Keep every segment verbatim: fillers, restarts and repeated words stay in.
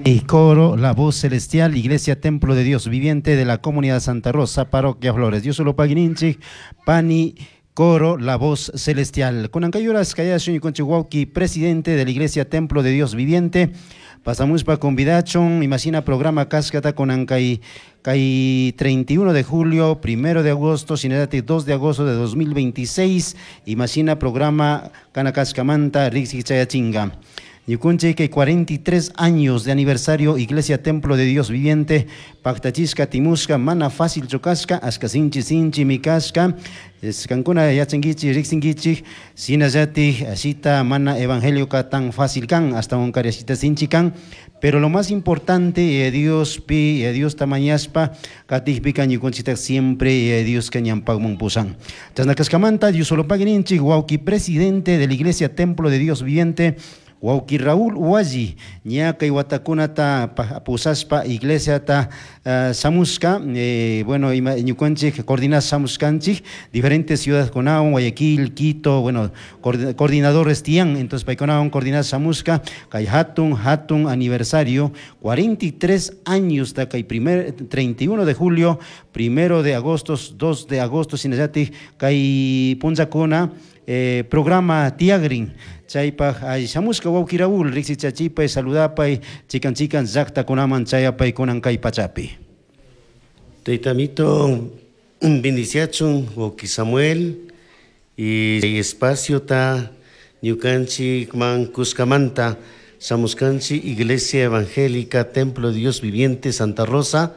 Y coro, La Voz Celestial, Iglesia Templo de Dios Viviente de la Comunidad Santa Rosa, Parroquia Flores. Dios solo pagui ninchij, Pani Coro, La Voz Celestial. Kunan kay uras kayashun ñukanchik wawki, presidente de la Iglesia Templo de Dios Viviente. Pasamos pa convidachun, imashina programa kashkata kunan kay kay treinta y uno de julio, primero de agosto, shinallati dos de agosto de dos mil veintiséis, imashina programa kana kashkamanta riksi chayachinga. Ñukunchik kay cuarenta y tres años de aniversario Iglesia Templo de Dios Viviente, paktachishka timushka, mana fácil kashka, ashka sinchi sinchi mi kashka, kankuna yachankichik, riksinkichik, shinallati ashita mana evangelio ka tan fácil kan, hasta un ashita sinchi kan, pero lo más importante, eh, Dios pi, eh, Dios tamañaspa, katikpi ñukunchikta siempre eh, Dios ka ñanpakmun pusan. Chasna kashkamanta, Dios solo pagui ninchik, wawki presidente de la Iglesia Templo de Dios Viviente, wawki Raúl Hualli, ña kay watakunata pusashpa iglesiata uh, shamushka, eh, bueno, ima, ñukanchik coordinar shamushkanchik, diferentes ciudades kunawan, Guayaquil, Quito, bueno, coordinadores tiyan, entonces paykunawan coordinar shamushka, kay hatun, hatun aniversario, cuarenta y tres años, ta kay primer, treinta y uno de julio, primero de agosto, dos de agosto, shinallati, kay punllakuna, eh, programa tiyagrin, chaypaj ay shamushka wawki Raúl, riksichachipay, saludapay, chikan chikan llaqtakunaman chayapay kunan kay pachapi. Taytamito bendiciachun, wawki Samuel, y espacio ta ñukanchik man kushkamanta shamushkanchik Iglesia Evangélica Templo de Dios Viviente Santa Rosa,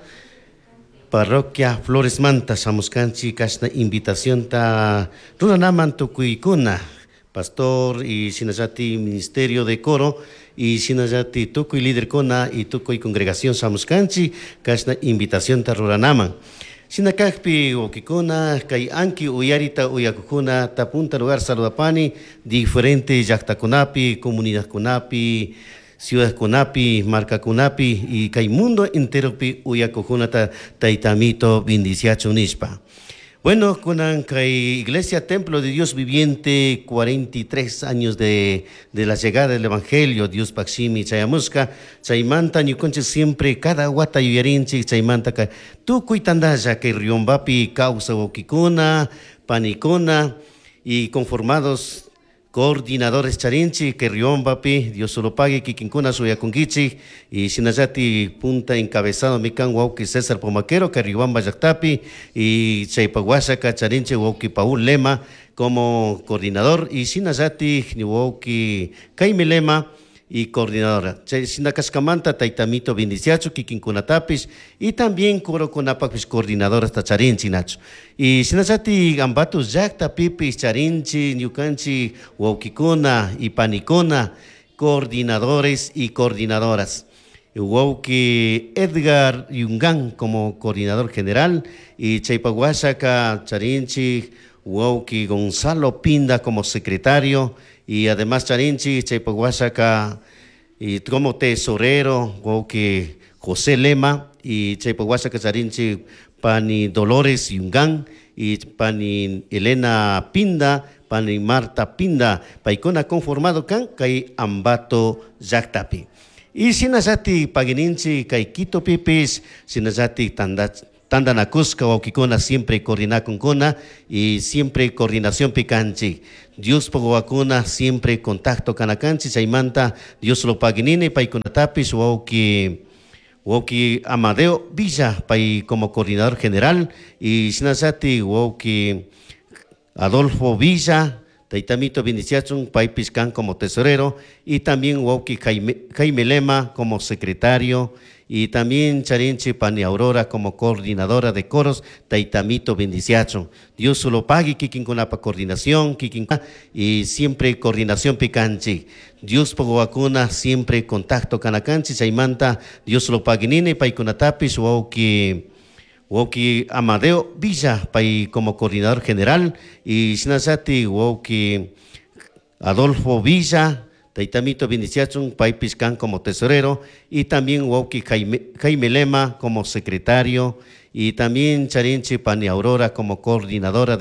Parroquia Flores manta shamushkanchik kashna invitación ta ruranaman tukuykuna pastor y shinallati ministerio de coro y shinallati tukuy líderkuna y tukuy congregación shamushkanchik kashna invitación ta ruranaman. Shina kakpi wawkikuna kay anki uyarita uyakukuna ta punta lugar saludapani diferente llaktakunapi, comunidadkunapi, ciudadkunapi, markakunapi y kay mundo enteropi uyakukunata taytamito bendiciachun nishpa. Bueno, kunan kay Iglesia Templo de Dios Viviente, cuarenta y tres años de, de la llegada del Evangelio, Diospaj shimi chayamushka, chaymanta ñukanchik siempre cada wata yuyarinchik, chaymanta ka tukuy tandalla kay Riobambapi kawsaj wawkikuna, panikuna y conformados coordinadores charinchik que Riobambapi, Dios solo pague kikinkuna shuyakunkichik y shinallati punta encabezado mi kan wawki César Pomaquero que Riobamba llaktapi y chaypak washaka charinchik wawki Paul Lema como coordinador y shinallati wawki Jaime Lema y coordinadora. Shina kashkamanta taytamito bendiciachu kikinkunatapish y también corokunapakpish coordinadora hasta charinchik nachu. Y shinallati Ambato llaktapipish charinchik ñukanchik wawkikuna y panikuna coordinadores y coordinadoras. Wawki Edgar Yungan como coordinador general y chaypak washaka charinchik wawki Gonzalo Pinda como secretario y además charinchik chaypak washaka y como tesorero wawki José Lema y chaypak washaka charinchik pani Dolores Yungan y pani Elena Pinda, pani Marta Pinda, paykuna conformado kan kay Ambato llaktapi. Y shinallati pagui ninchik kay Quito pipis, shinallati tanda tandanakushka wawkikuna siempre coordinakunkuna y siempre coordinación pi kanchik. Diospaj wawakuna siempre contacto kanakanchik chaymanta Dios lo pagui nini paykunatapish wawki wawki Amadeo Villa pay como coordinador general y shinallati wawki Adolfo Villa taytamito bendiciachun paypish kan como tesorero y también wawki Jaime, Jaime Lema como secretario y también charinchik pani Aurora como coordinadora de coros, taytamito bendiciachun. Dios lo pague kikinkunapa coordinación, kikin y siempre coordinación pi kanchik. Diospaj wawakuna siempre contacto kanakanchik chaymanta Dios lo pagui nini paykunatapish wawki wawki Amadeo Villa pay como coordinador general y shinallati wawki Adolfo Villa taytamito bendiciachun paypish kan como tesorero y también wawki Jaime, Jaime Lema como secretario y también charinchik pani Aurora como coordinadora de